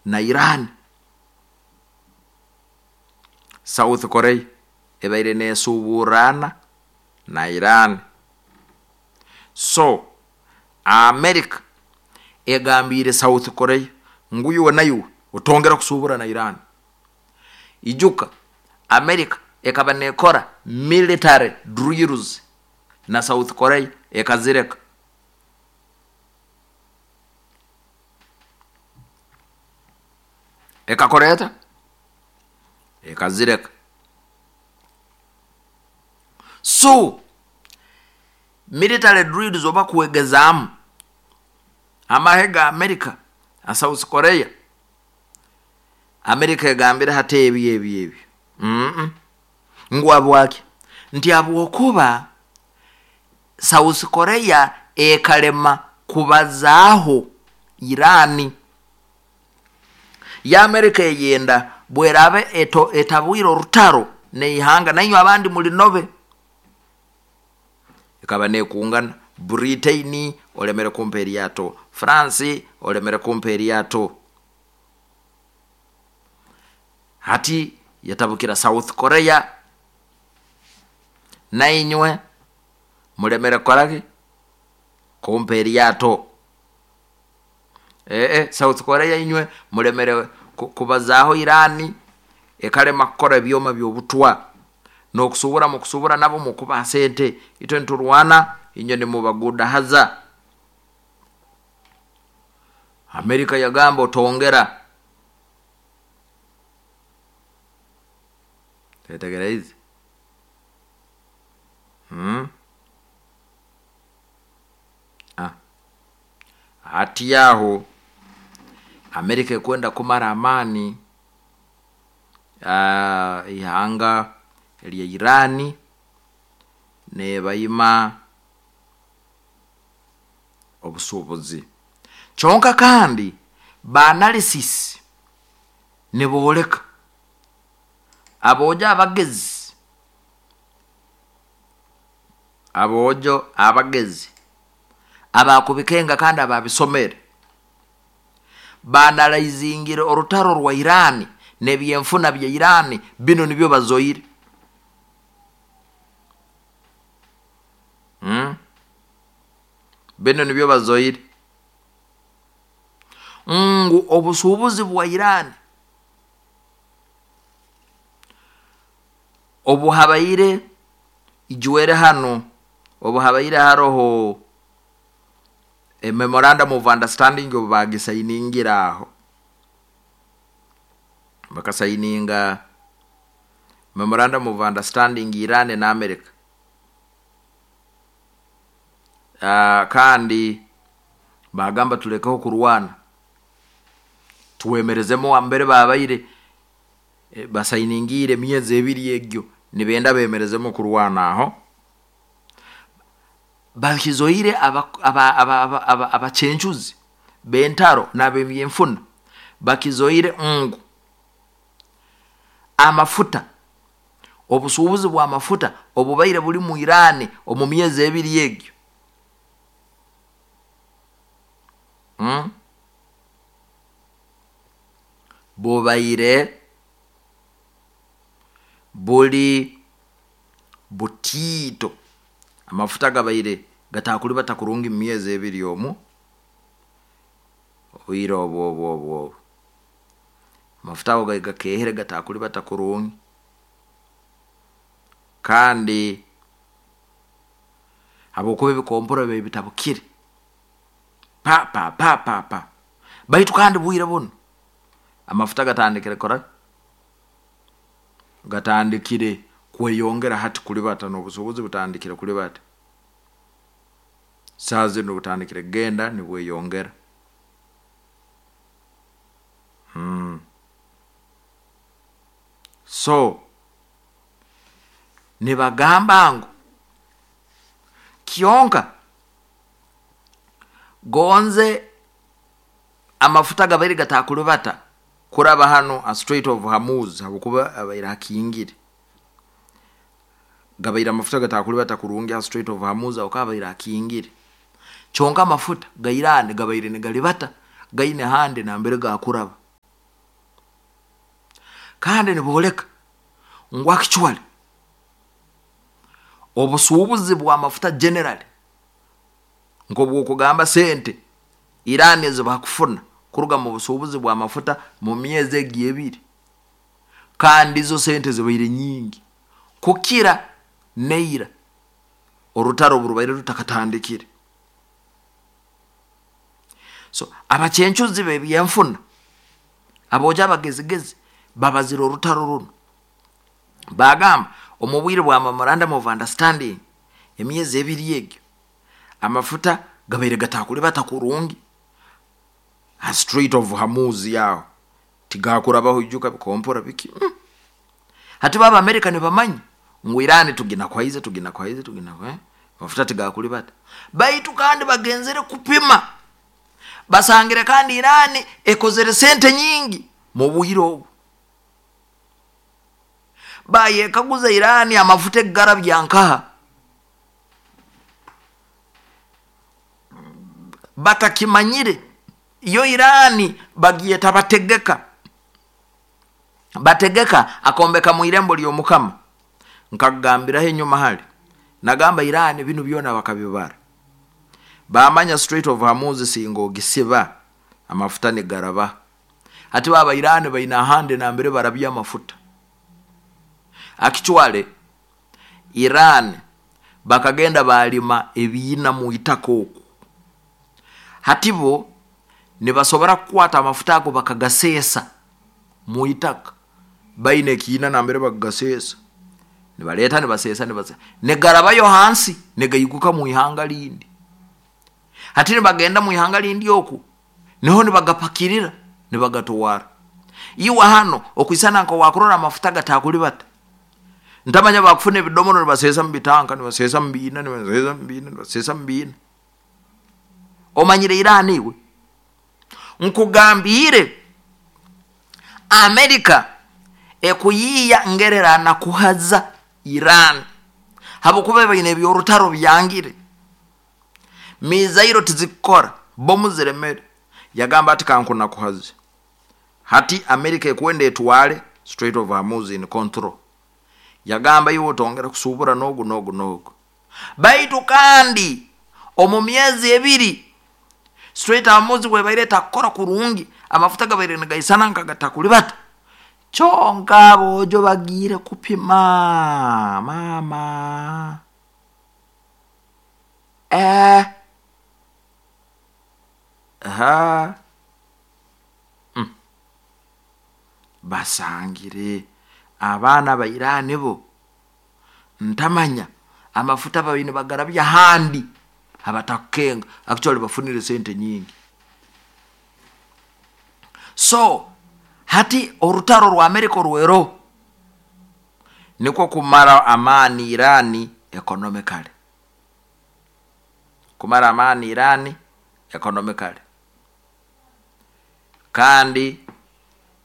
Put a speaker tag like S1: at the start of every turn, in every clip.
S1: Na Iran. South Korea ebaire nesuburana na Iran. So America egambiire South Korea ngu iwe naiwe otongera kusubura na Iran. Ijuka America ekaba nekora military drills na South Korea, ekazireka. Ekakora eta? Ekazireka. So military drills oba kwegezaamu amahe ga America na South Korea, America egambire hati ebyo ebyo ebyo ngu habwaki? Nti habwokuba South Korea ekalema kubazaaho Iran. Ya America eyenda bweraaba etabwire orutaro neihanga, nainywe abandi mulinobe. Ekaba nekungana Britain, olemere kumpa eryato, France olemere kumpa eryato, hati yatabukira South Korea, nainywe mulemere kukoraki? Kumpa eryato. South Korea inywe mulemere kubazaaho Iran, ekalema kukora ebyoma by'obutwa, n'okusubura mukusubura nabo mukubaha sente, itwe niturwana, inywe nimubagudahaza. Amerika yagamba otongera. Twetegereze. Ah. Hati aho Amerika ekwenda kumara amaani ihanga lya Iran, nebaima obusubuzi. Kyonka kandi ba analysis nibooleka, aboojo abagezi, aboojo abagezi abakubikenga kandi ababisomere, banalaizingire orutaro rwa Iran n'ebyenfuna bya Iran, bino nibyo bazoire. Bino nibyo bazoire ngu obusubuzi bwa Iran obuhabaire ijwere hanu, obuhabaire haroho a memorandum of understanding, obu bagisainingire aho, bakasaininga memorandum of understanding Iran na America. Kandi bagamba tulekeho kurwana, twemerezemu ambere babaire basainingire emyezi 2 egyo, nibenda bemerezemu kurwana. Aho bakizoire abacencuzi bentaro n'abebyenfuna bakizoire ngu amafuta, obusuubuzi bw'amafuta obubaire buli mu Iran omu myezi 2 egyo, bubaire buli butiito. Amafuta gabaire gatakulibata kurungi mu myezi 2 omu obwire obwo obwo obwo obwo amafuta ago gakehere, gatakulibata kurungi. Kandi habwokuba ebikompora bibaire bitabukire pa pa pa pa pa. Baitu kandi bwire bunu amafuta gatandikire kora, gatandikire kweyongera hati kulibata, n'obusobozi butandikire kulibata saaha zinu, butandikire kugenda nibweyongera. So nibagamba ngu kyonka gonze amafuta gabaire gatakulibata kuraba hanu a Strait of Hormuz, habwokuba abaire hakingire, gabaire amafuta gatakulibata kurungi ha Strait of Hormuz, aho kabaire hakingire. Kyonka amafuta ga Iran gabaire nigalibata, gaine handi nambere gakuraba. Kandi nibooleka ngu actually obusuubuzi bw'amafuta generally, nk'obwokugamba sente Irani ezi bakufuna kuruga mu busuubuzi bw'amafuta mu myezi egi 2, kandi izo sente zibaire nyingi kukira neira orutaro oburubaire rutakatandikire. So abacencuzi b'ebyenfuna, aboojo abagezigezi, babazire orutaro runo, bagamba omu bwire bwa memorandum of understanding emyezi 2 egyo amafuta gabaire gatakulibata kurungi ha Strait of Hormuz, yaho tigakurabaho, ijuka bikompora biki. Hati baba Amerika nibamanya ngu Irani tuginakwaize, tuginakwaize, tugina amafuta tigakulibata. Baitu kandi bagenzere kupima, basangire kandi Irani ekozere sente nyingi mu bwire obu. Bayekaguza, Irani amafuta egarabya nkaha? Batakimanyire, yo Irani bagyeta bategeka, bategeka akombeka mu irembo ly'Omukama. Nkakugambiraho enyuma hali, nagamba Irani binu byona bakabibara, bamanya Strait of Hormuz singa ogisiba amafuta nigaraba. Hati baba Irani baina ahandi nambere barabya amafuta. Actually Iran bakagenda balima ebiina mu itaka oku, hati bo nibasobora kukwata amafuta ago bakagaseesa mu itaka. Baina ekiina nambere bakagasesa, nibaleta, nibasesa, nibasesa, nigarabayo hansi, nigaiguka mu ihanga lindi. Hati nibagenda mu ihanga lindi oku niho nibagapakirira, nibagatwara. Iwe hano okwisana nka wakurora amafuta gatakulibata, ntamanya bakufuna ebidomoro, nibasesa mu bitanka, nibasesa mu biina, nibasesa mu biina, nibasesa mu biina. Omanyire Irani? Iwe nkugambire, Amerika ekuyiiya ngererana kuhaza Iran, habwokuba baine ebyorutaro byangire, mizairo tizikukora, bomu ziremere. Yagamba ati kankunakuhaze. Hati Amerika ekwenda etwale Strait of Hormuz in control. Yagamba iwe otongera kusubura nogu nogu nogu. Baitu kandi omu myezi 2 Strait of Hormuz bwebaire etakukora kurungi, amafuta gabaire nigaisana nkagatakulibata. Kyonka aboojo bagiire kupima, mama, ha basangire abaana ba Irani bo ntamanya amafuta babaire nibagarabya handi abatakukenga, actually bafunire sente nyingi. So hati orutaro rwa Amerika orwero nikwo kumara amaani Irani economically, kumara amaani Irani economically, kandi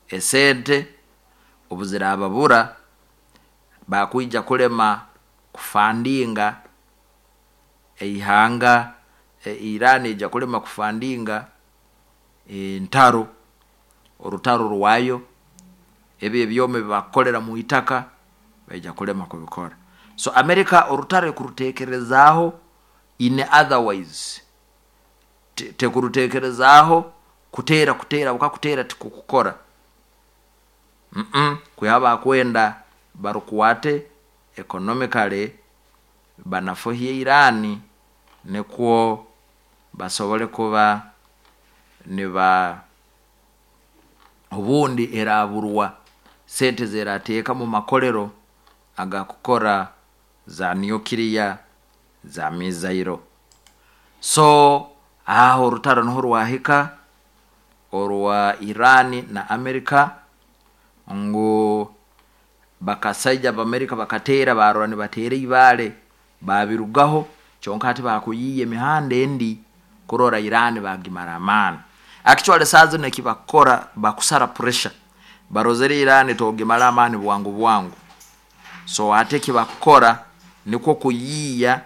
S1: esente obuzirababura bakwija kulema kufandinga eihanga. Irani ija kulema kufandinga entaro, orutaro rwayo, ebyo ebyoma ebibakukolera mu itaka baija kulema kubikora. So Amerika orutaro ekurutekerezaaho in otherwise, tekurutekerezaaho kuteera, kuteera bukakutera tikukukora, kwiha bakwenda barukwate economically, banafuhye Irani nikwo basobole kuba niba obundi eraburwa sente zerateeka mu makolero agakukora za nuclear, za mizairo. So aho orutaro niho rwahika orwa Irani na Amerika, ngu bakasaija b'Amerika bakateera, barora nibateera ibaale, babirugaho. Kyonka hati bakuyiiya emihanda endi kurora Irani bagimara amaani. Actually saa zino ekibakukora, bakusara pressure, barozere Irani togimara amaani bwangu bwangu. So hati ekibakukora nikwo kuyiiya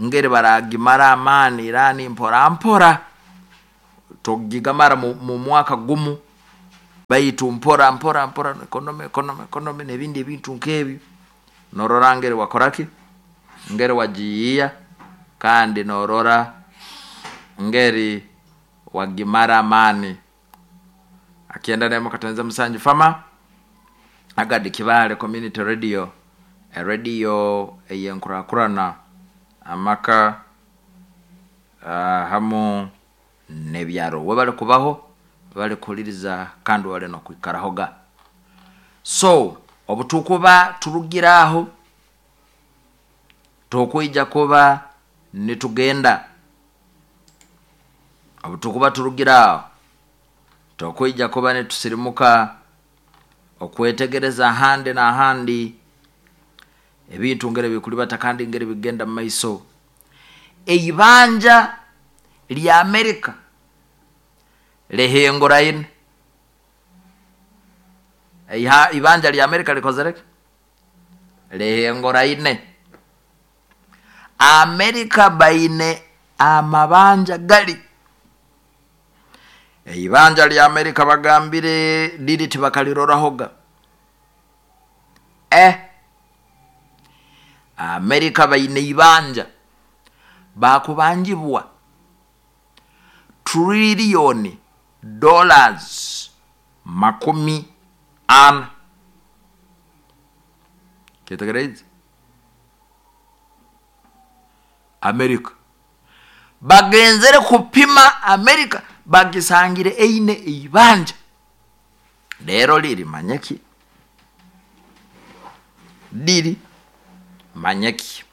S1: ngeri baragimara amaani Irani mpora mpora, togigamara mu mwaka gumu. Baitu mpora mpora mpora economy, economy, economy n'ebindi ebintu nk'ebyo, norora ngeri wakoraki, ngeri wagiyiiya, kandi norora ngeri wagimara amaani. 91.7 fama agadi Kibaale Community Radio, erediyo ey'enkurakurana, amaka hamu n'ebyaro. Webale kubaho, webale kuhuliriza, kandi webale n'okwikarahoga. So obutukuba turugire aho, tukwija kuba nitugenda. Obutukuba turugire aho, tukwija kuba nitusirimuka okwetegereza ahandi n'ahandi ebintu ngeri bikulibata kandi ngeri bigenda mu maiso. Eibanja lya Amerika lihinguraine. Ibanja lya Amerika likozereki? Lihinguraine. Amerika baine amabanja gali. Eibanja lya Amerika bagambire liri tibakalirorahoga. Amerika baine ibanja bakubanjibwa trillion dollars 40. Kyetegereze? Amerika bagenzere kupima Amerika, bagisangire eine eibanja lero liri manyeki, liri manyeki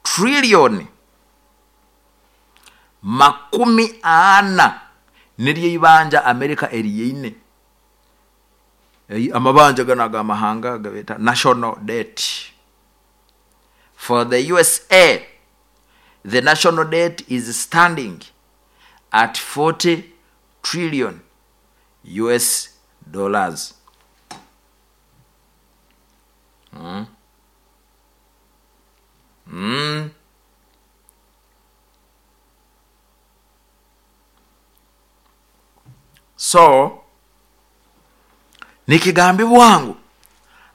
S1: trillion 40 niryo ibanja Amerika eriyeine. Amabanja gano agamahanga gabeta national debt. For the USA, the national debt is standing at 40 trillion US dollars. So nikigambibwa ngu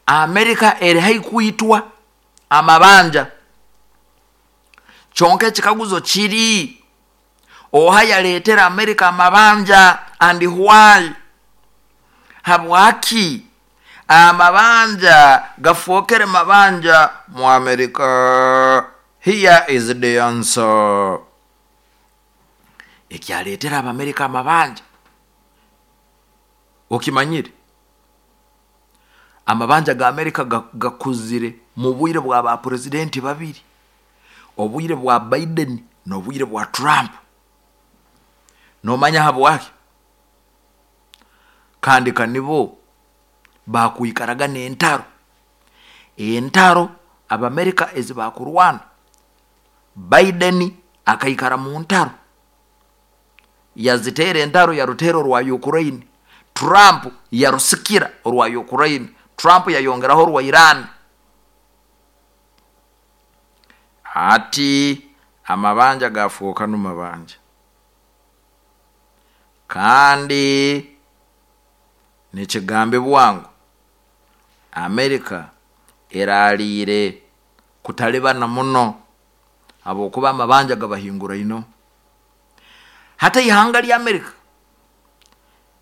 S1: Amerika eri haikuitwa amabanja. Kyonka ekikaguzo kiri, oha yaleetera Amerika amabanja and why? Habwaki amabanja gafookere mabanja mu Amerika? Here is the answer. Ekyaleetera Abamerika amabanja okimanyire, amabanja ga Amerika gakuzire mu bwire bwa ba presidenti babiri, obwire bwa Biden n'obwire bwa Trump. Nomanya habwaki? Kandi kanibo bakwikaraga n'entaro, entaro Abamerika ezi bakurwana. Biden akaikara mu ntaro, yaziteera entaro, yaruteera orwa Ukraine. Trump yarusikira orwa Ukraine, Trump yayongeraho orwa Iran. Ati amabanja gafuuka numabanja, kandi nikigambibwa ngu Amerika eraliire kutalibana muno habwokuba amabanja gabahinguraino. Hata ihanga lya Amerika,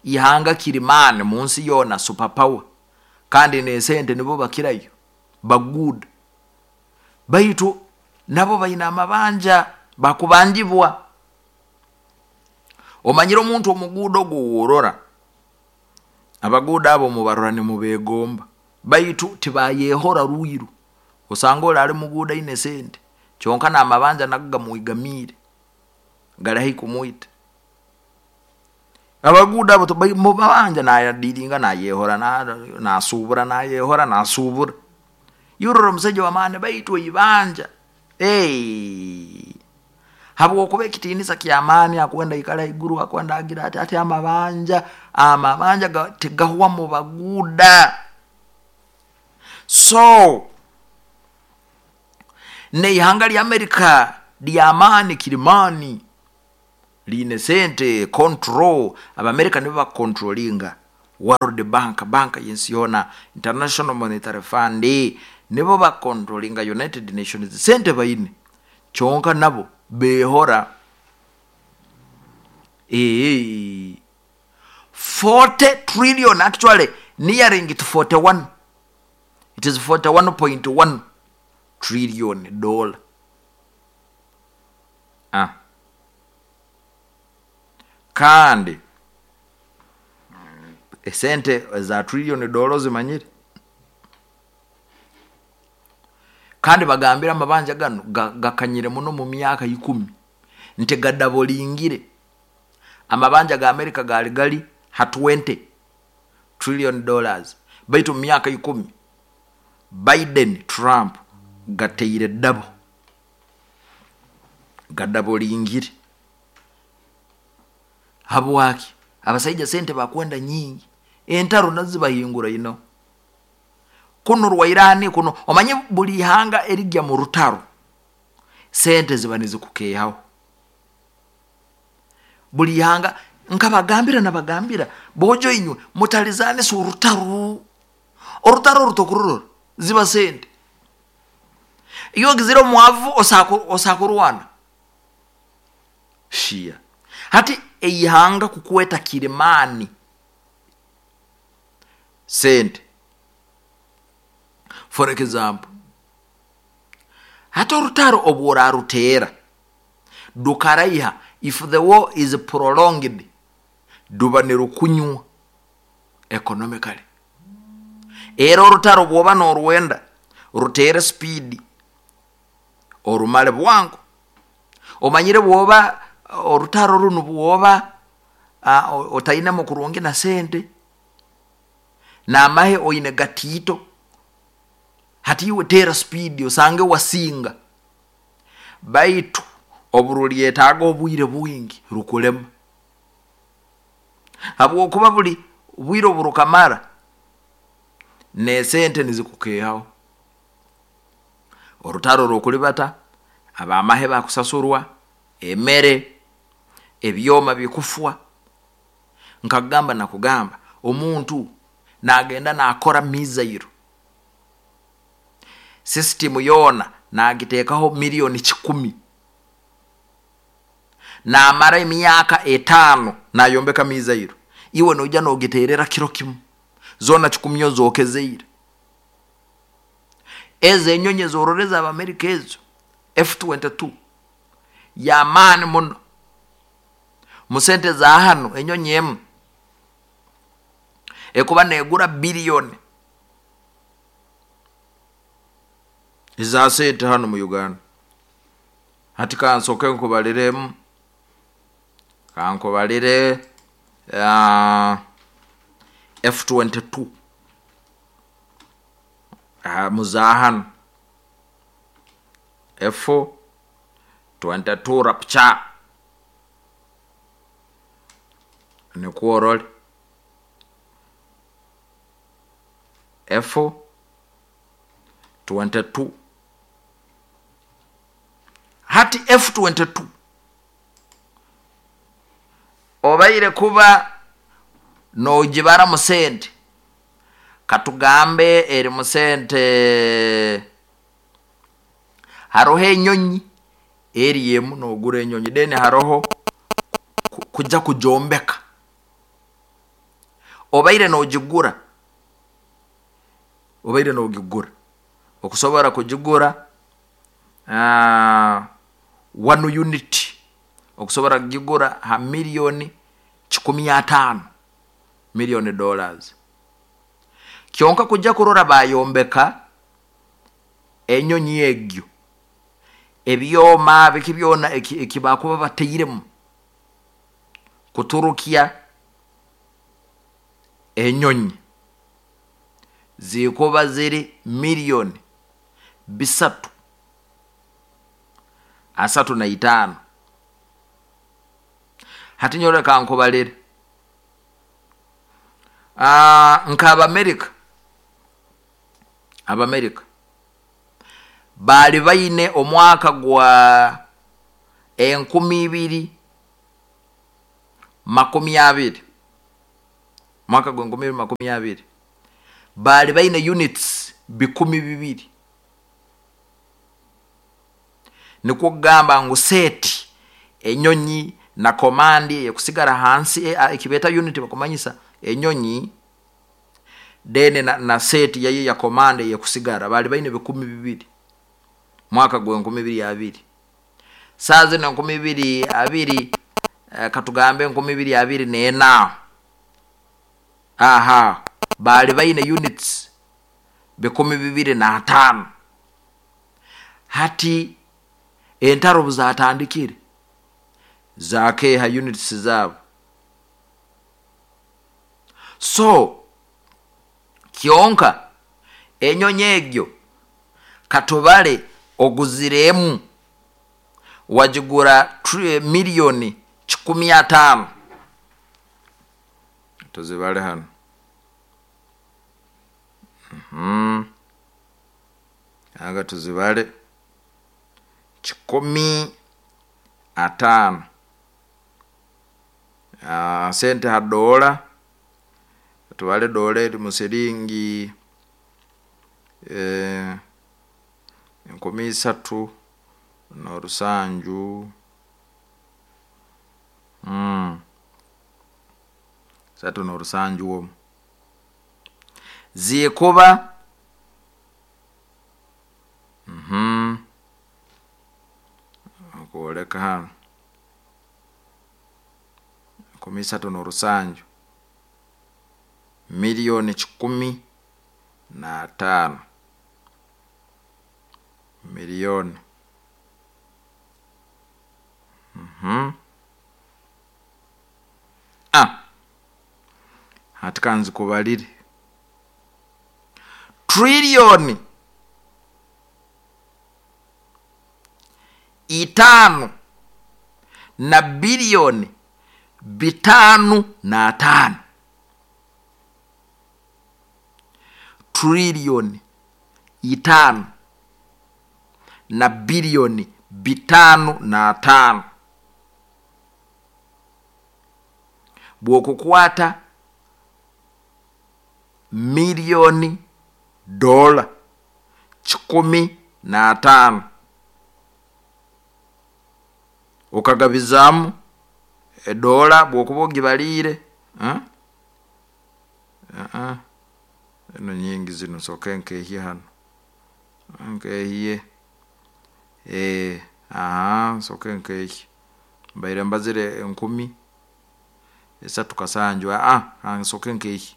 S1: ihanga kirimani munsi yoona, super power, kandi n'esente nibo bakirayo baguuda, baitu nabo baine amabanja bakubanjibwa. Omanyire omuntu omuguuda ogwo worora, abaguuda abo mubarora nimubegomba, baitu tibayehora rwiru. Osanga oli ali muguuda aine sente, kyonka n'amabanja nago gamwigamiire, gali haihi kumwita. Abaguuda abo mubabanja nayadiringa, nayehora, nasubura, nayehora, nasubura. Yurora omusaija w'amaani, baitu eibanja habwokuba ekitiinisa ky'amaani, akwenda ikara haiguru, akwenda agira ati ati amabanja, amabanja tigahwa mu baguuda. So n'eihanga lya Amerika ly'amaani kirimani, liine sente, control, Abamerika nibo bakukontrolinga World Bank, banka y'ensi yoona, International Monetary Fund, nibo bakontrolinga United Nations. Sente baine, kyonka nabo beehora. Ee, 40 trillion, actually nearing to 41, it is 41.1 trillion dollar. Ah. Kandi esente za trillion dollar zimanyire, kandi bagambira amabanja gano gakanyire muno mu myaka 10 nti gadabolingire. Amabanja ga Amerika gali gali ha 20 trillion dollars, baitu mu myaka 10 Biden Trump gateire dabo, gadabolingire. Habwaki? Abasaija sente bakwenda nyingi, entaro nazo zibahingura ino kuno rwa Irani kuno. Omanye buli ihanga erijya mu rutaro sente ziba nizikukehaho buli ihanga. Nkabagambira nabagambira bojo inywe mutalizane si orutaro, orutaro rutokurorora ziba sente. Iyo gizira omwavu osakurwana shia. Hati eihanga kukweta kirimani sente. For example, hata orutaro obworarutera dukaraiha, if the war is prolonged, duba nirukunywa economically. Era orutaro bwoba norwenda rutere speed orumale bwangu. Omanyire bwoba orutaro runo bwoba otaine mukurungi na sente namahe oine gatito, hati iwe tera speed osange wasinga, baitu oburulyetaaga obwire bwingi rukulema, habwokuba buli bwire oburukamara nesente nizikukehaho. Orutaro rukulibata, abamahe bakusasurwa, emere, ebyoma bikufwa. Nkagamba nakugamba omuntu nagenda nakora mizairo system yona nagitekaho milioni 10, namara emyaka 5 nayombeka mizairo, iwe noija nogiterera kiro kimu zona 10 zokezeire. Ezo enyonyi zororeza Abamerika ezo F-22 ya maani muno musente za hano, enyonyi emu ekuba negura biliyoni eza sente hano mu Uganda. Hati kansoke nkubaliremu, kankubalire F-22 muzahano F-22 Rapture nikuorole F-22. Hati F-22 obaire kuba nogibara musente, katugambe eri musente haroho enyonyi eri emu nogura enyonyi, then haroho kuja kujombeka, obaire nogigura, obaire nogigura okusobora kugigura 1 unit okusobora kugigura ha milioni 15 million dollars. Kyonka kujja kurora bayombeka enyonyi egyo ebyoma biki byona ekibakuba bateiremu kuturukia enyonyi zikuba ziri milioni 335. Hati nyore kankubalire nka Abamerika bali baine omwaka gwa 2020 Mwaka gwa 2020 baali baine units 2,000. Nikwo kugamba ngu set enyonyi na command ekusigara hansi, ekibeta unit bakumanyisa enyonyi then na set yayo ya command eyekusigara, bali baine 2,000 mwaka gwa 2020. Saa zino 2020, katugambe 2024, aha bali baine units 2,005. Hati entaro buzatandikire zakeha units zabo. So kyonka enyonyi egyo katubale oguziremu wagigura miliyoni 150, tuzibale hano, aga tuzibale 150, sente ha dola, tubale dola eri musiringi 3700, 37 omu zikuba kwoleka hano 3700 miliyoni 105 miliyoni. Hati kanzikubalire triliyoni 5 na biliyoni 505, triliyoni 5 na biliyoni 505. Bwokukwata miliyoni dola 105 ukagabizamu edola bwokuba ogibalire, eno nyingi zino, soke nkehye hano, nkehye, soke nkehye, mbaire mbazire 3700, nsoke nkehye.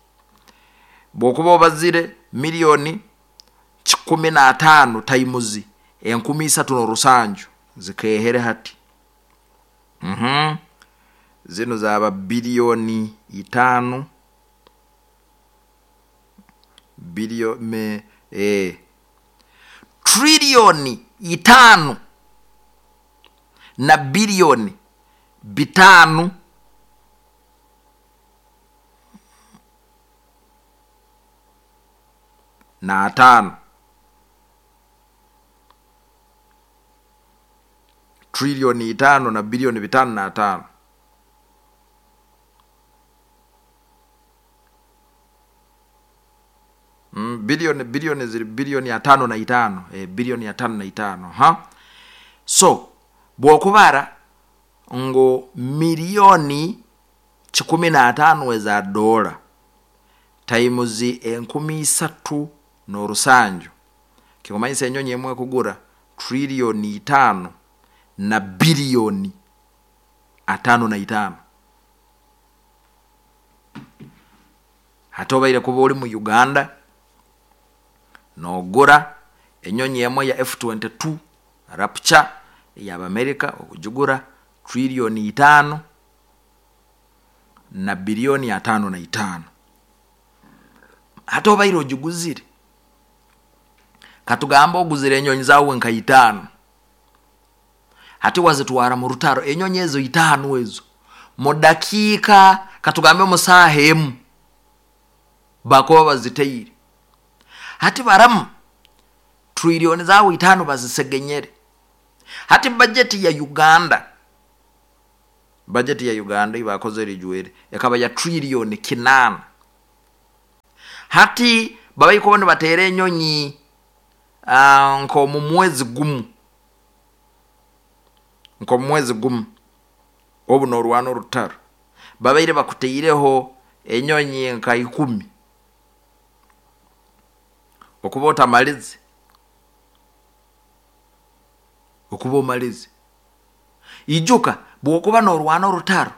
S1: Bwokuba obazire miliyoni 105 taimuzi 3700 zikehere hati, zino zaba biliyoni 5 biliyoni, triliyoni 5 na biliyoni 5 na 5, triliyoni 5 na biliyoni 505. Bilioni ziri biliyoni 55, biliyoni 55, ha. So bwokubara ngo miliyoni 105 eza dola times 3700, kikumanyisa enyonyi emwe kugura triliyoni 5 na biliyoni 55. Hati obaire kuba ori mu Uganda nogura enyonyi emwe ya F-22 Rapture y'Abamerika, okugigura triliyoni 5 na biliyoni 55. Hati obaire ogiguzire, katugamba oguzire enyonyi zawe nka 5, hati wazitwara mu rutaro enyonyi ezo 5 ezo mu dakiika katugambe mu saaha emu bakuba baziteire. Hati baramu triliyoni zawe 5 bazisegenyere. Hati bajeti ya Uganda, bajeti ya Uganda ibakoze rijwere ekaba ya triliyoni 8. Hati babaikuba nibateera enyonyi nk'omu mwezi gumu, nk'omu mwezi gumu obu noorwana orutaro, babaire bakutaireho enyonyi nka 10, okuba otamalize, okuba omalize. Ijuka bw'okuba noorwana orutaro,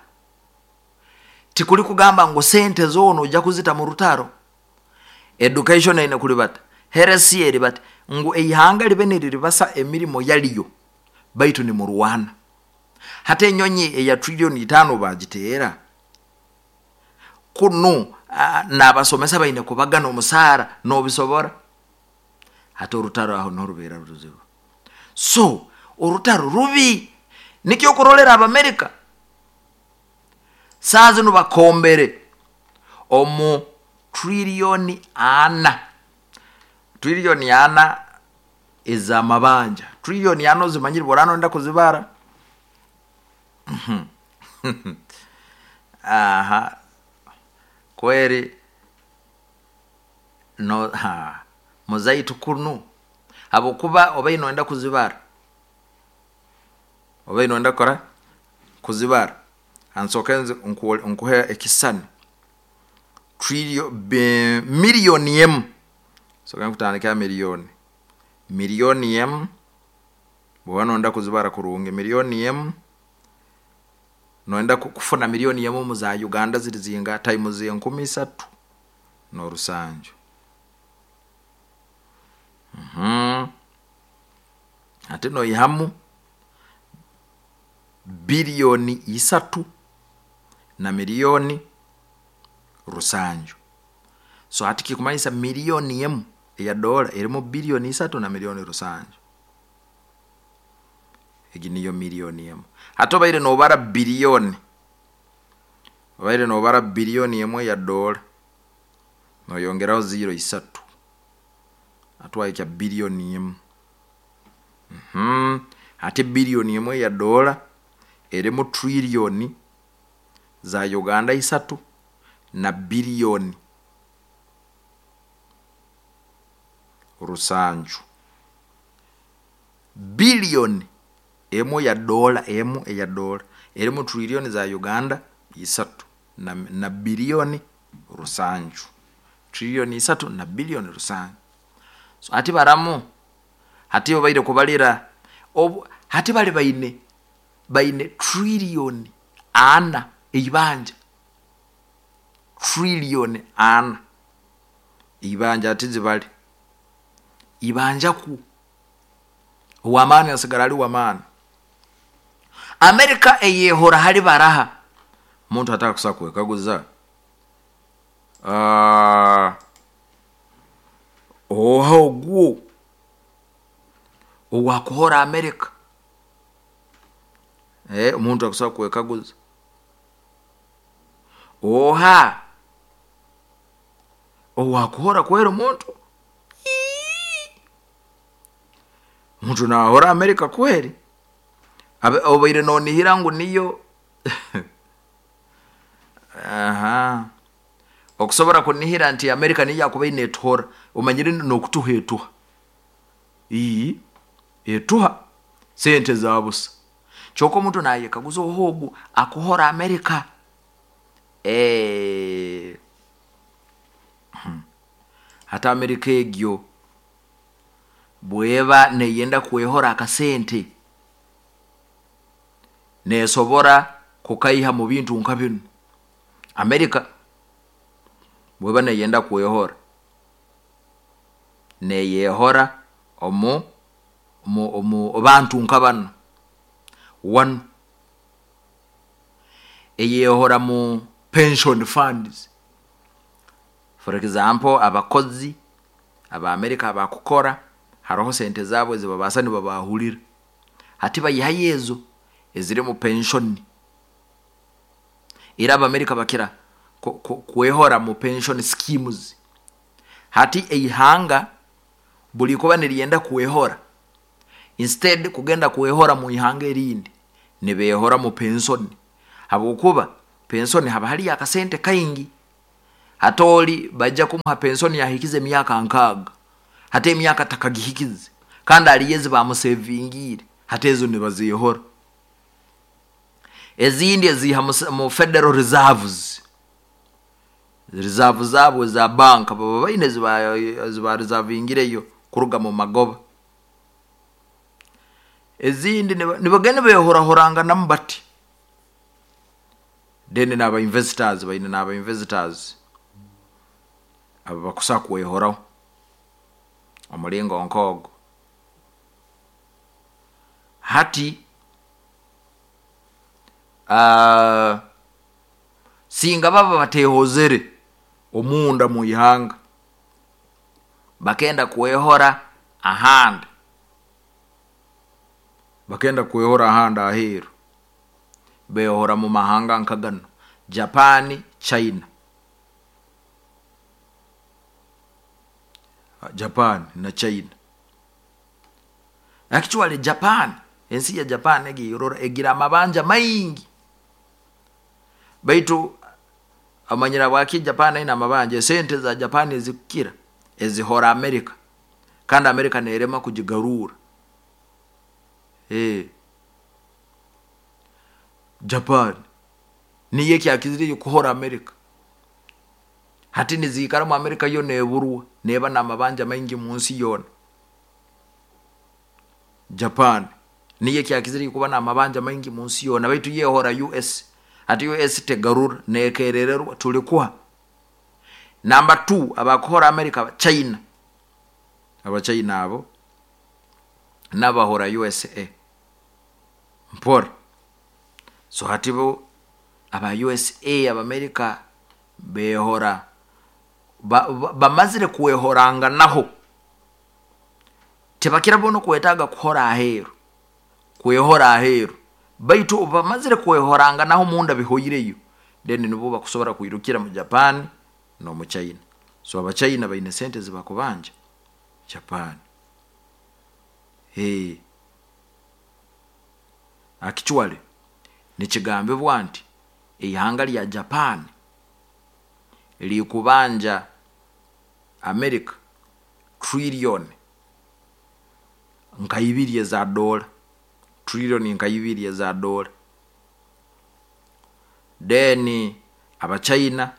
S1: tikuli kugamba ngu sente zoona ojja kuzita mu rutaro. Education eine kulibata, health eribata, ngu eihanga libe niriribasa emirimo yalyo, baitu nimurwana. Hati enyonyi eya trillion 5 bagiteera, kunu n'abasomesa baine kubagana omusaara n'obisobora. Hati orutaro aho niho rubeera ruzibu. So orutaro rubi, nikyo okurolera Abamerika saaha zinu bakombere omu trillion 4, trillion 4 ez'amabanja. Trillion 4 ozimanyire bw'oraaba noyenda kuzibara? Aha, kweri no ha muzaitu kunu habwokuba obaire noyenda kuzibara, obaire noyenda kukora kuzibara, hansooke nkuhe ekisisani. Miliyoni emu, nsooke nkutandike ha miliyoni, miliyoni emu bw'oba noyenda kuzibara kurungi, miliyoni emu noyenda kufuna miliyoni emu omu za Uganda ziri zingaha times 3700. Hati noihamu biliyoni 3 na miliyoni 700. So hati kikumanyisa miliyoni emu eya dola erimu biliyoni 3 na miliyoni 700. Egi niyo miliyoni emu. Hati obaire noobara biliyoni, obaire noobara biliyoni emu eya dola, noyongeraho ziro isatu, hati wahikya biliyoni emu. Hati biliyoni emu eya dola erimu trillion za Uganda 3 na biliyoni 700. Biliyoni emu ya dola, emu eya dola erimu trillion za Uganda 3 na biliyoni 700. Trillion 3 na biliyoni 700. So hati baramu, hati obaire kubalira obu hati bali baine trillion 4 eibanja, trillion 4 eibanja hati zibale ibanja ku ow'amaani asigara ali w'amaani. Amerika eyehora hali baraha, omuntu atakusobola kwekaguza oha ogwo owakuhora Amerika? Omuntu akusobola kwekaguza oha owakuhora kweri omuntu? Omuntu naahora Amerika kweri? Obaire noonihira ngu niyo aha okusobora kunihira nti Amerika niyo yakubaire neetuhora, omanyire n'okutuha etuha, etuha sente za busa. Kyonka omuntu naayekaguza oha ogu akuhora Amerika? Hati Amerika egyo bw'eba neeyenda kwehora akasente, neesobora kukaiha mu bintu nka binu. Amerika bw'eba neeyenda kwehora, neeyehora omu bantu nka banu. One, eyehora mu pension funds. For example, abakozi aba Amerika abakukora haroho sente zaabo ezibabaasa nibabaahurira. Hati baihayo ezo eziri mu pension. Era Abamerika bakira kwehora mu pension schemes. Hati eihanga buri kuba niryenda kwehora, instead kugenda kwehora mu ihanga erindi, nibeehora mu pension. Habwokuba pension haba hariyo akasente kaingi. Hati oli bajja kumuha pensoni yahikize emyaka 60, hati emyaka takagihikize, kandi aliyo ezi bamusevingiire, hati ezo nibazihora. Ezindi eziiha mu federal reserves, reserve zaabo eza banka baba baine ezibareservingireyo kuruga mu magoba. Ezindi nibagenda behorahoranganamu bati. Then n'aba investors, baine n'aba investors abo bakusa kwehoraho omulingo nk'ogo. Hati singa baba batehozere omunda mu ihanga, bakenda kwehora ahandi, bakenda kwehora ahandi aheeru, behora mu mahanga nka ganu: Japan, China. Japan na China. Actually Japan, ensi ya Japan egi erora egira amabanja maingi, baitu amanyira bwaki Japan aine amabanja? Esente za Japan ezikukira ezihora America, kandi America nerema kugigarura. Japan niyo ekyakizireyo kuhora America. Hati niziikaramu America yo neburwa, neba n'amabanja maingi mu nsi yoona. Japan niyo ekyakizireyo kuba n'amabanja maingi mu nsi yoona, baitu yehora US. Hati US tegarura, nekerererwa tulikuha. Namba 2 abakuhora America, China. Abachina abo n'abahora USA mpora. So hati bo aba USA, Abamerika behora, bamazire kwehoranganaho, tibakira bo nokwetaaga kuhora aheeru, kwehora aheeru, baitu bamazire kwehoranganaho munda bihoireyo, then nibo bakusobora kwirukira mu Japan n'omu China. So Abachina baine sente ezibakubanja Japan. Actually nikigambibwa nti eihanga lya Japan likubanja America trillion nka 2 eza dola, trillion nka 2 eza dola. Then Abachina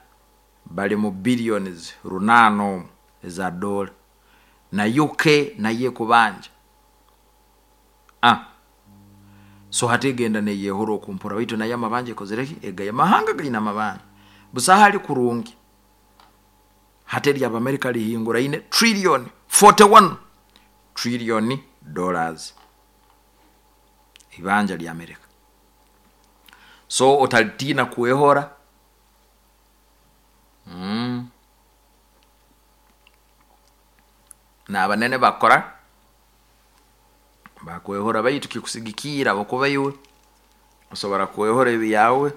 S1: bali mu billions 8 omu eza dola, na UK nayo ekubanja. So hati egenda neyehora okumpora, baitu nayo amabanja ekozereki? Egaya amahanga gaine amabanja, busaho ali kurungi. Hati erya Abamerika lihinguraine trillion 41 trillion dollars ibanja lya Amerika. So otalitina kwehora. N'abanene bakora bakwehora, baitu kikusigikiira okuba iwe osobora kwehora ebyawe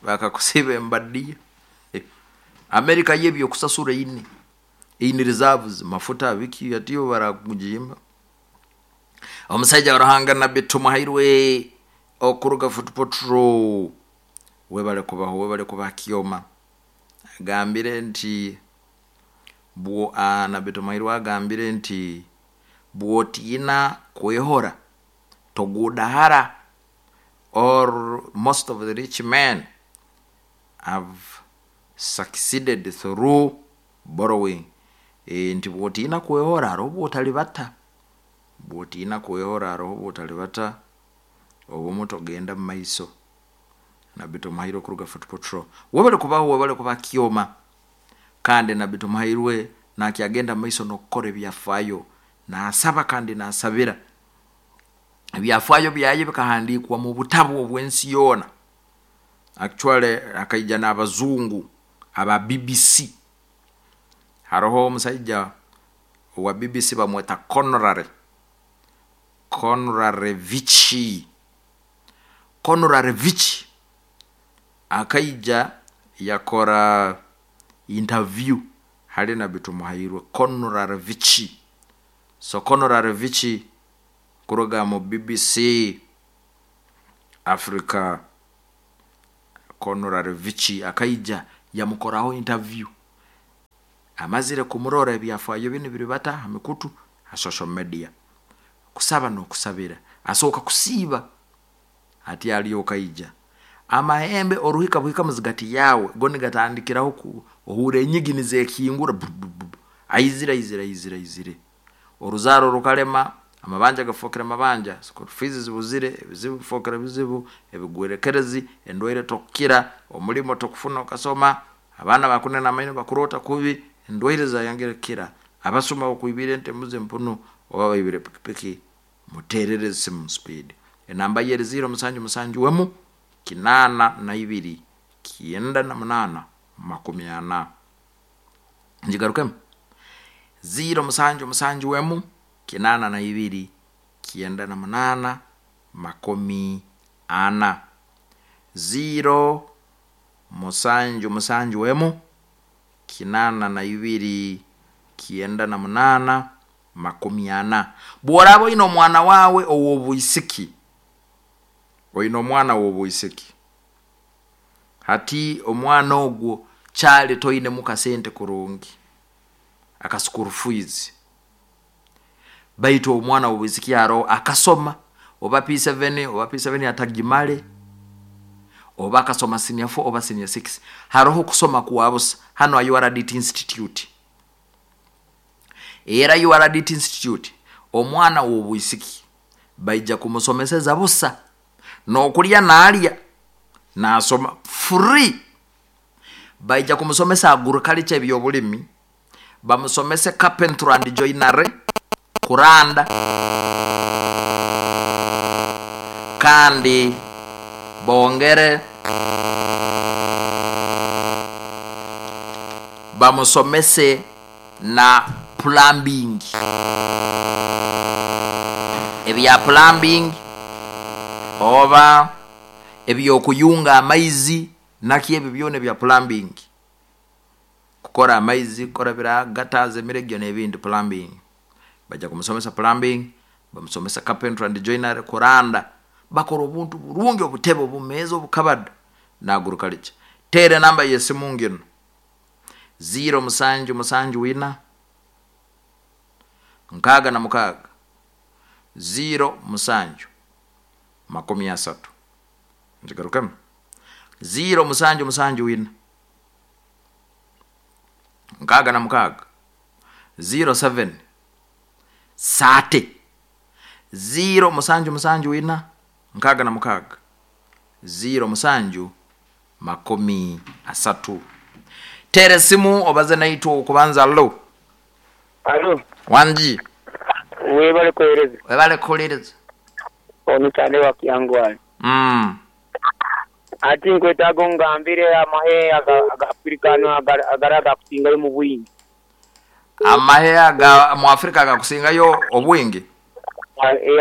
S1: bakakusiba embadiya. Amerika yo ebyokusasura eine reserves, mafuta biki, atiyo barakugimba. Omusaija wa Ruhanga Nabbi Tumuhairwe okuruga Fort Portal, webale kubaho, webale kuba kyoma. Agambire nti bwo Nabbi Tumuhairwe agambire nti bwotiina kwehora togudahara, or most of the rich men have succeeded through borrowing. Nti bwotiina kwehora hariho bwotalibata, bwotiina kwehora hariho bwotalibata, obumu togenda mu maiso. Nabbi Tumuhairwe kuruga Fort Portal, webale kubaho, webale kuba kyoma. Kandi Nabbi Tumuhairwe nakyagenda mu maiso n'okukora ebyafaayo, nasaba kandi nasabira. Ebyafaayo byaye bikahandiikwa mu butabu obw'ensi yoona. Actually akaija n'abazungu aba BBC. Haroho omusaija owa BBC bamweta Conrad Vici. Conrad Vici akaija yakora interview hali Nabbi Tumuhairwe Conrad Vici. So Conrad Vici kuruga mu BBC Africa, Conrad Vici akaija Yamukoraho interview, amazire kumurora ebyafaayo binu biribata ha mikutu, ha social media. Kusaba n'okusabira, asooka kusiiba ati alyoka aija. Amahembe oruhika buhika muzigati yawe, go nigatandikiraho ohuura enyigi nizekingura, aizire aizire aizire aizire. Oruzaaro rukalema, amabanja gafookere mabanja, school fees zibuzire, ebizibu bifookere bizibu, ebigwerekerezi, endwaire tokukira, omulimo tokufuna okasoma, abaana bakunena amaino bakuroota kubi, endwaire zayongera kukira, abasuma bakwibire ente, embuzi, empunu, oba baibire pikipiki. Muteerere esimu speed. Enamba ye eri 0771 82 98 40. Ngigarukemu, 0771 82 98 40. 0771 82 98 40. Bw'oraaba oine omwana waawe ow'obwisiki, oine omwana w'obwisiki, hati omwana ogwo kyali toinemu kasente kurungi aka school fees, baitu omwana w'obwisiki aroho akasoma oba P7, oba P7 atagimale, oba akasoma senior 4 oba senior 6, haroho kusoma kwa busa hanu ha URDT Institute. Era URDT Institute omwana w'obwisiki baija kumusomeseza busa, n'okulya naalya, naasoma free. Baija kumusomesa agriculture, eby'obulimi, bamusomese carpentry and joinery, kuranda, kandi bongere bamusomese na plumbing, ebya plumbing oba eby'okuyunga amaizi naki ebyo byona ebya plumbing, kukora amaizi, kukora bira gutters, emiregyo n'ebindi, plumbing. Baija kumusomesa plumbing, bamusomesa carpentry and joinery, kuranda, bakora obuntu burungi, obutebe, obumeeza, obukabada, na agriculture. Teera enamba y'esimu nginu, 0774 66 07 30. Nkigarukemu, 0774 66 07 30, 0774 66 07 30. Teera esimu obaze naitwe. Okubanza, allo?
S2: Alo.
S1: Wangi.
S2: Webale kuhereza.
S1: Webale kuhuliriza.
S2: Ono Kyande wa Kyangwali. Ati nkwetaaga ongambire amahe aga Afrika ano agari agakusingayo mu bwingi.
S1: Amahe aga mu Afrika agakusingayo obwingi?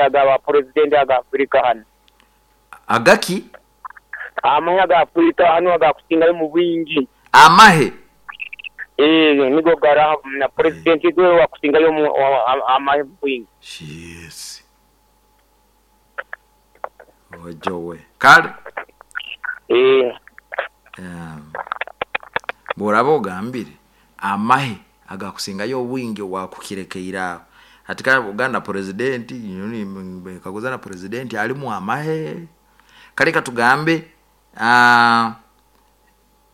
S2: Aga ba pulezidenti aga Afrika hano.
S1: Agaki?
S2: Amahe aga Afrika hano agakusingayo mu bwingi.
S1: Amahe?
S2: Nigo gari na pulezidenti gwe wakusingayo amahe mu bwingi.
S1: Yes. Ojowe. Kale. Bw'oraba ogambire amahe agakusingayo obwingi wakukirekeire aho. Hati kale Buganda pulezidenti kaguza na pulezidenti alimu amahe. Kale katugambe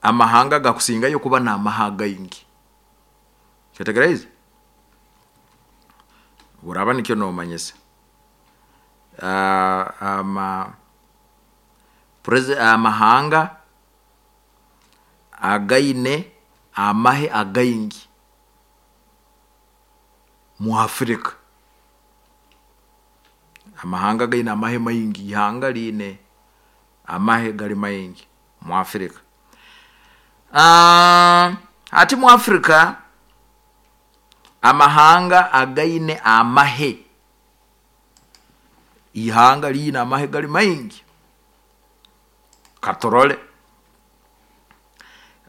S1: amahanga agakusingayo kuba n'amahe againgi. Kyetegereze? Bw'oraba nikyo nomanyisa. Amahanga againe amahe againgi mu Afrika. Amahanga gaine amahe maingi, ihanga liine amahe gali maingi mu Afrika. Ati mu Afrika amahanga againe amahe, ihanga liine amahe gali maingi. Katorole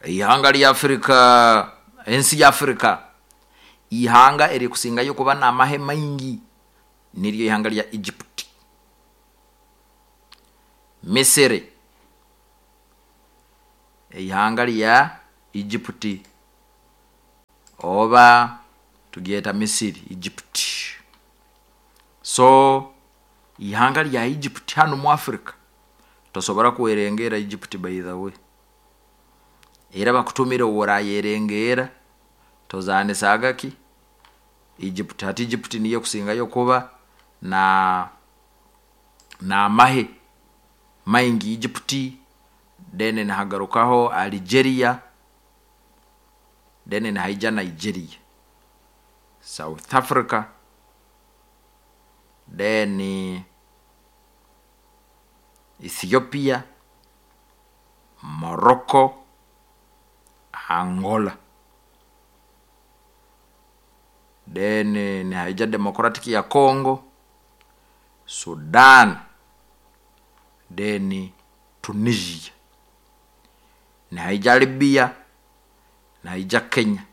S1: ihanga lya Afrika, ensi ya Afrika, ihanga erikusingayo kuba n'amahe maingi niryo ihanga lya Egypt, Misiri, ihanga lya Egypt, oba tugyeta Misiri, Egypt. So ihanga lya Egypt hanu mu Africa tosobora kwerengera Egypt, by the way. Era bakutumire orayerengeera, tozaanisaga ki Egypt. Hati Egypt niyo ekusingayo kuba na n'amahe maingi, Egypt, then nihagarukaho Algeria, then nihaija Nigeria, South Africa, then Ethiopia, Morocco, Angola, then nihaija Democratic ya Congo, Sudan, then Tunisia, nihaija Libya, nihaija Kenya,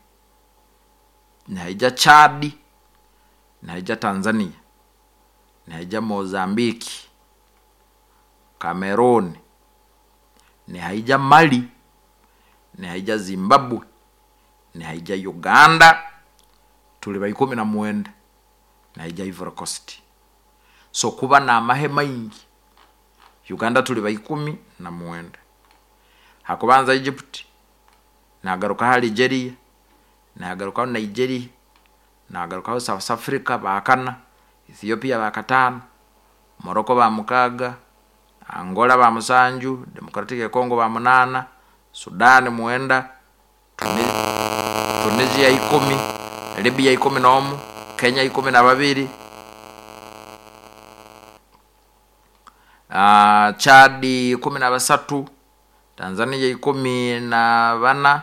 S1: nihaija Chad, nihaija Tanzania, nihaija Mozambique, Cameroon, nihaija Mali, nihaija Zimbabwe, nihaija Uganda, tuli ba 19, nihaija Ivory Coast. So kuba n'amahe maingi, Uganda tuli ba 19. Hakubanza Egypt, nagarukaho Algeria, nagarukaho Nigeria, nagarukaho South Africa bakana, Ethiopia bakataano, Morocco ba mukaaga, Angola ba musanju, Democratic ya Congo ba munaana, Sudan mwenda, Tunisia 10, Libya 11, Kenya 12, Chad 13, Tanzania 14,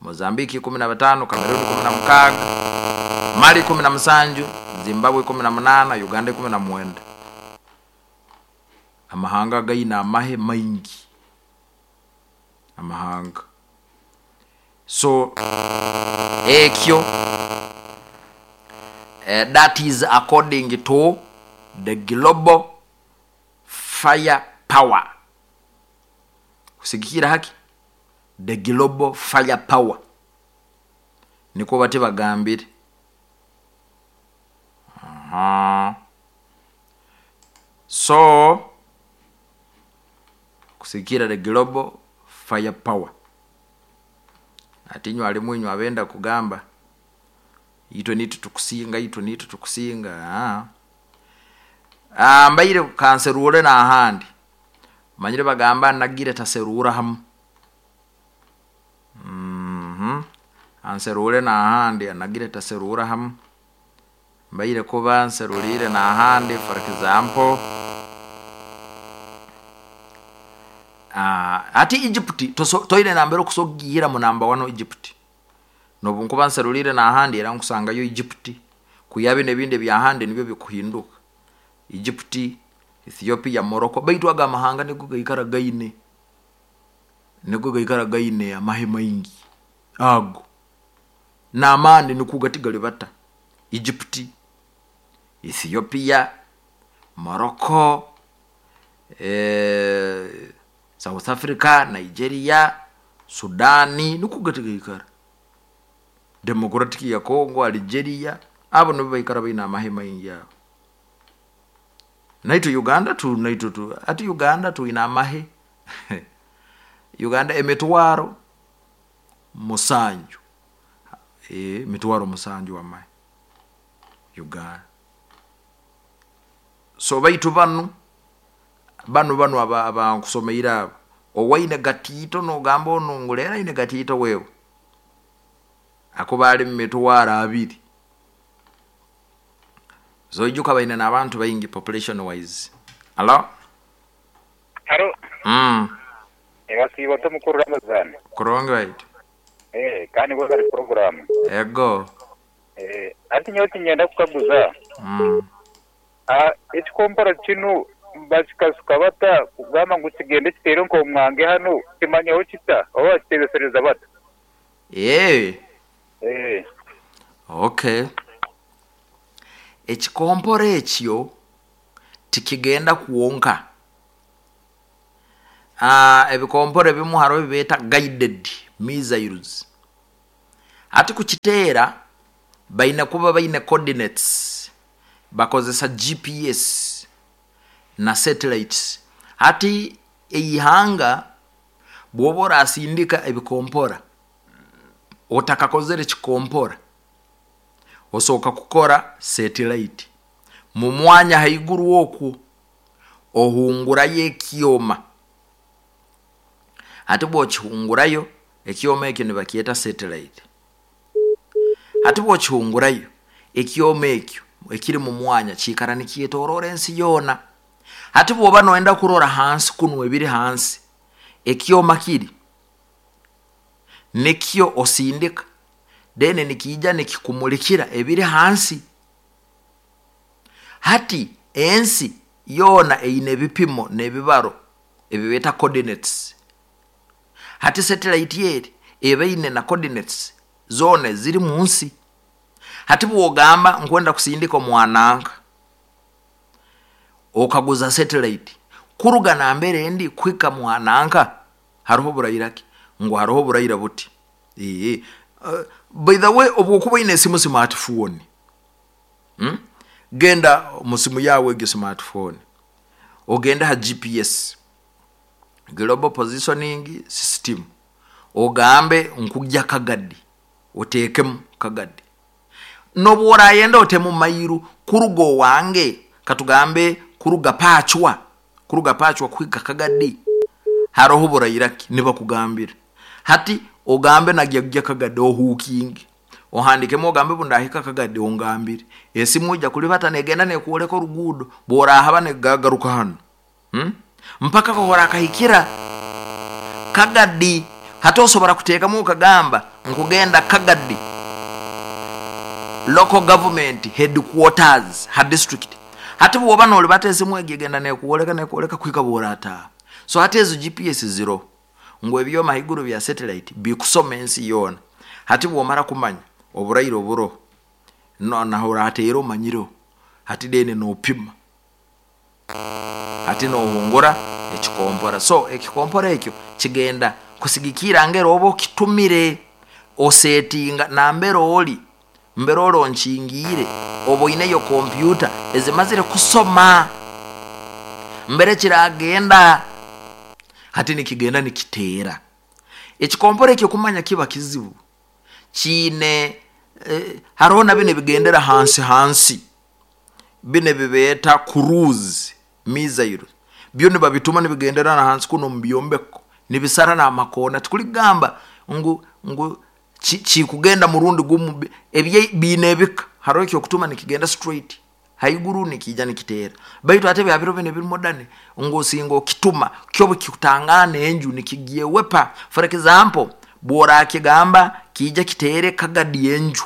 S1: Mozambiki 15, Cameroon 16, Mali 17, Zimbabwe 18, Uganda 19. Amahanga gaina amahe maingi, amahanga. So ekyo that is according to the global fire power. Kusigikira haki the global fire power, niko bati bagambire. So kusikira the global fire power, ati inywe alimu inywe abenda kugamba itwe nitu tukusinga, itwe nitu tukusinga. Mbaire kanserure na ahandi manyire bagamba nagire taserura hamu. Anserure na ahandi anagire taserura hamu, mbaire kuba nserurire na ahandi. For example, ati Egypt toire nambere okusogira mu namba 1 Egypt, nobu nkuba nserurire na ahandi era nkusangayo Egypt, kuyabe nebindi bya ahandi nibyo bikuhinduka. Egypt, Ethiopia, Morocco, baitu aga amahanga nigo gaikara gaine, nigo gaikara gaine amahe maingi ago n'amani nikuga bata. Egypt, Ethiopia, Morocco, South Africa, Nigeria, Sudani nikuga tigaikara, Democratic ya Congo, Algeria, abo nibo baikara baina amahe maingi abo. Naito Uganda tu, naito tu, ati Uganda tu ina amahe. Uganda emitwaro musanju, mitwaro musanju amahe Uganda. So baitu banu banu aba nkusomeire abo, owaine gatito nogamba ono ngulera ine gatito wewe akuba ali mu mitwaro 2. So ijuka baine n'abantu baingi population wise. Hello?
S2: Hello. Ebasiba tomukuru Ramazani.
S1: Kurongo right.
S2: Kandi ngo bari program.
S1: Ego.
S2: Ati nyoti nyenda kukaguza. Ekikompora kinu bakikasuka bata kugamba ngu kigende kitere nko mwange hano kimanyaho kita oba kitebesereza bata.
S1: Okay. Ekikompora ekyo tikigenda kuwonka. Ebikompora ebimu hariho bibeta guided Missiles hati kukiteera baine kuba baine coordinates, bakozesa GPS na satellites. Hati eihanga bwoba orasindika ebikompora, otakakozere kikompora osooka kukora satellite mu mwanya haiguru okwo, ohungurayo ekyoma. Hati bwokihungurayo ekyoma ekyo nibakyeta satellite. Hati bwokihungurayo ekyoma ekyo ekiri mu mwanya kiikara nikyetoroora ensi yoona. Hati bwoba noyenda kurora hansi kunu ebiri hansi, ekyoma kiri nikyo osindika, then nikiija nikikumulikira ebiri hansi. Hati ensi yoona eine ebipimo n'ebibaro ebibeeta coordinates. Hati satellite eri eba eine na coordinates zoona eziri mu nsi. Hati bwogamba nkwenda kusindika omwananka, okaguza satellite kuruga nambere ndi kuhika mwananka haroho oburaira ki, ngu haroho oburaira buti. By the way, obwokuba oine esimu smartphone, Genda mu simu yawe egyo smartphone, ogende ha GPS, global positioning system, ogambe nkujya Kagadi, oteekemu Kagadi. Nobu orayenda otemu mairu kuruga owange, katugambe kuruga Pachwa, kuruga Pachwa kuhika Kagadi haroho buraira ki, nibakugambira. Hati ogambe nagyagya Kagadi ohukinge, ohandikemu ogambe bundahika Kagadi ongambire. Esimu ojja kulibata negenda nekwoleka oruguudo, bworahaba negagaruka hanu, Mpaka kahorakahikira Kagadi. Hati osobora kuteekamu okagamba nkugenda Kagadi local government headquarters ha district. Hati bwoba nolibata esimu egi egenda nekwoleka nekwoleka kuhika bworataha. So hati ezo GPS ziro ngu ebyoma haiguru bya satellite bikusoma ensi yoona. Hati bwomara kumanya oburaire oburoho, naho orateera omanyireho, hati then nopima, hati nohungura ekikompora. So ekikompora ekyo kigenda kusigikira ngeri oba okitumire, osetinga nambere ori, mbere oronkingiire, oba oineyo kompyuta ezimazire kusoma mbere kiragenda. Hati nikigenda nikiteera ekikompora ekyo. Kumanya kiba kizibu kiine, haroho na bino ebigendera hansi hansi, bino ebibeeta cruise missile, byo nibabituma nibigendera na hansi kuno omu byombeko, nibisara n'amakoona. Tikuligamba ngu kikugenda murundi gumu, ebye biine ebika. Haroho ekyokutuma nikigenda straight haiguru nikiija nikiteera, baitu ate bya biro binu ebiri modern ngu osinga okituma kyo bukikutangana enju nikigyewepa. For example, bworakigamba kiija kiteere Kagadi enju,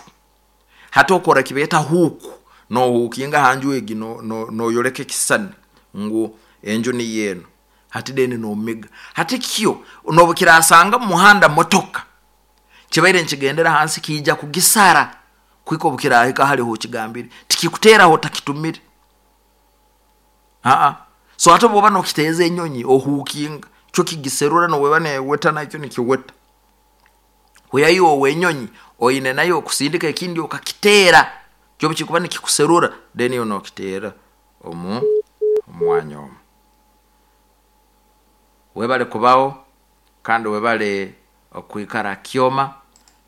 S1: hati okora kibeeta hook, nohukinga ha nju egi, noyoleka ekisisani ngu enju niyo eno. Hati then nomiga, hati kyo nobukirasanga mu muhanda motoka kibaire nikigendera hansi, kiija kugisara kuhika obukirahika hali hokigambire. Tikikuteeraho otakitumire. So hati obwoba nokiteeza enyonyi ohukinga, kyo kigiserura, noweba neweta nakyo nikiweta. Kuyayo owenyonyi oine nayo okusindika ekindi okakiteera, kyo bukikuba nikikuserura, then iwe nokiteera omu mwanya omu. Webale kubaho kandi webale okwikara kyoma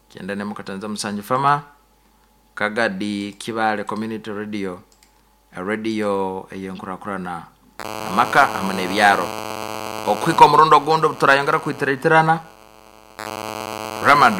S1: kyenda nemukatanza musanju fama Kagadi Kibale Community Radio, radio ey'enkurakurana amaka hamwe n'ebyaro. Okuhika omurundi ogundi obu turayongera kwitiratirana, Ramada.